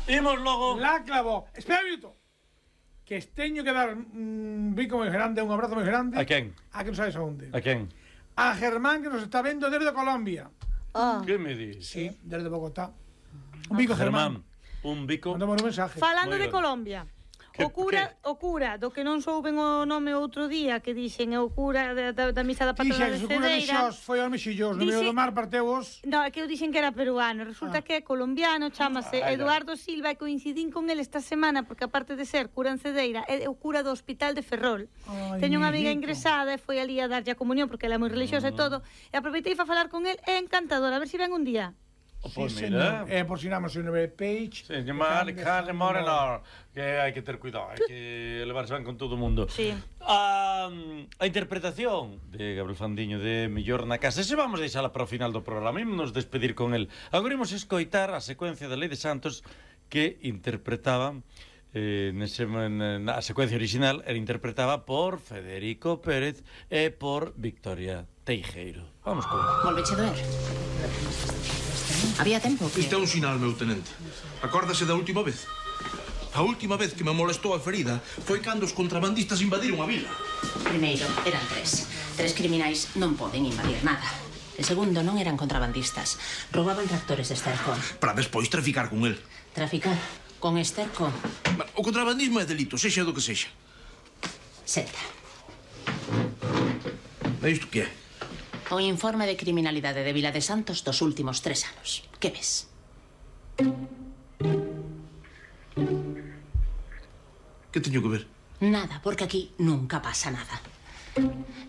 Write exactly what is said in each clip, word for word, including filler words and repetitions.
Imos logo. La clavou. Espera un minuto. Que teño que dar un bico moi grande, un abrazo moi grande. A quen? A que non sabes a onde. A quen? A Germán, que nos está vendo desde Colombia. Ah. Que me dis? Sí, desde Bogotá. Un bico Germán. Germán, un bico. Mandamos un mensaje. Falando Moi de ben. Colombia. Que- O cura, o cura, do que non souben o nome outro día, que dixen é o cura da, da, da misa da patrona de Dixen, o cura de Cedeira. Xos foi ao mexillos, no medio Dixe- do mar parteus. No, é que eu dixen que era peruano. Resulta Ah. que é colombiano, chamase Ai, ai. Eduardo Silva, e coincidín con ele esta semana, porque aparte de ser cura en Cedeira, é o cura do Hospital de Ferrol. Ai, Teño unha amiga mijito. ingresada e foi ali a darlle a comunión, porque ela é moi religiosa e todo, e aproveitei para falar con el, é encantador, a ver se ven un día. Oh, pois Sí, mira. señor. Eh, por si nada, señor Page. Sí, llamar Carne Morenor, que hai que ter cuidado, hai que levarse ben con todo o mundo. Sí. A, a interpretación de Gabriel Fandiño de Mellor na Casa, se vamos deixala para o final do programa, ímonos despedir con el. Agora imos escoitar a secuencia da Lei de Santos que interpretaba eh, nese, na secuencia original era interpretada por Federico Pérez e por Victoria Teijeiro. Vamos con ela. Volveche doer. Había tempo que... Isto é un sinal, meu tenente. Acórdase da última vez? A última vez que me molestou a ferida foi cando os contrabandistas invadiron a vila. Primeiro, eran tres. Tres criminais non poden invadir nada. E segundo, non eran contrabandistas. Roubaban tractores de esterco. Para despois traficar con el. Traficar con esterco. O contrabandismo é delito, sexa do que sexa. Senta. E isto que é? O informe de criminalidade de Vila de Santos dos últimos tres anos. Que ves? Que teño que ver? Nada, porque aquí nunca pasa nada.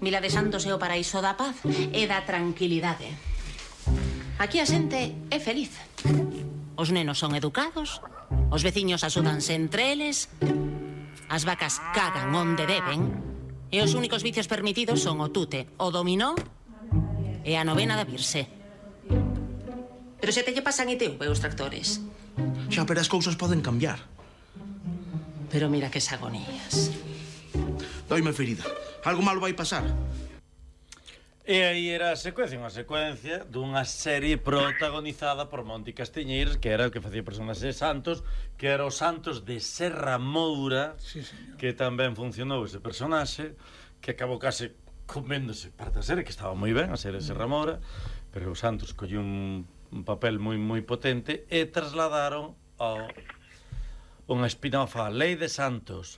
Vila de Santos é o paraíso da paz e da tranquilidade. Aquí a xente é feliz. Os nenos son educados, os veciños axudanse entre eles, as vacas cagan onde deben, e os únicos vicios permitidos son o tute, o dominó e a novena da Virse. Pero se te lle pasan I T V os tractores. Xa, pero as cousas poden cambiar. Pero mira que agonías. Doime a ferida. Algo malo vai pasar. E aí era a secuencia, unha secuencia dunha serie protagonizada por Monti Castiñeiras, que era o que facía personaxe de Santos, que era o Santos de Serra Moura, Sí, señor. que tamén funcionou ese personaxe, que acabou case coméndose parte da serie, que estaba moi ben a serie de Serra Moura, pero o Santos colleu un, un papel moi moi potente e trasladaron ao unha spin-off a Lei de Santos,